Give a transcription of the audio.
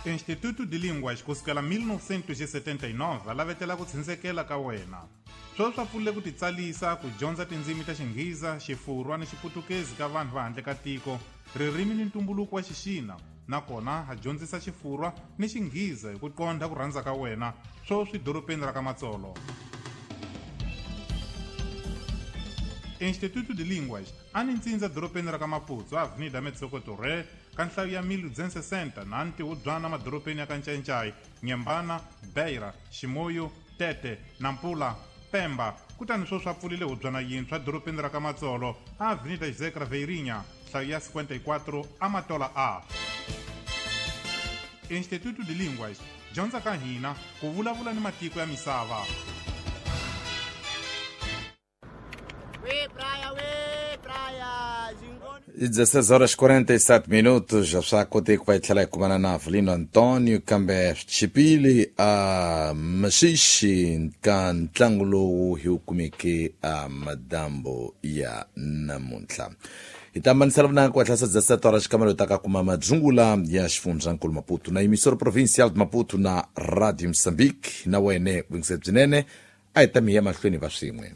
Instituto de Línguas kusukela 1979 va lavetela ku tshindzekela ka wena. Sweswi swa pfulile ku titsalisa ku dyondza tindzimi ta Xinghiza, Xifurwa ni Xiputukezi ka vanhu va handle ka tiko, ririmi ni ntumbuluko wa Xixina, nakona ha dyondzisa Xifurwa ni Xinghiza hi ku qondha ku rhandza ka wena, sweswi dorobeni ra ka Matsolo. Instituto de Línguas a ni ntsindza dorobeni ra ka Maputsu, Avenida Metsoko Torre, ka nhlayo ya 1260 na ntihubyana madorobeni ya ka Ncayincai, Nyembana, Beira, Chimoio, Tete, Nampula, Pemba, kutani sweswi a pfulile hubyana yintshwa dorobeni ra ka Matsolo, Avenida José Craveirinha, nhlayo ya 54, Amatola A. Instituto de Línguas, dyondza ka hina ku vulavula ni matiko ya misava. 16 horas 47 minutos já swa koteki ku va hi tlhela hi kumana na Avelino Antonio kambe swi chipile a maxixi ka ntlangu lowu hi wu kumeke a madambo ya namuntlha hi ta hambanisela vunanga ku hatlasa 17 horas xikamelo hi ta ka kuma madzungula ya xifundzankulu Maputo na emissora provincial de Maputo na Radio Moçambique na wene vuyingiseri byinene a hi ta mi ya mahlweni va swin'we.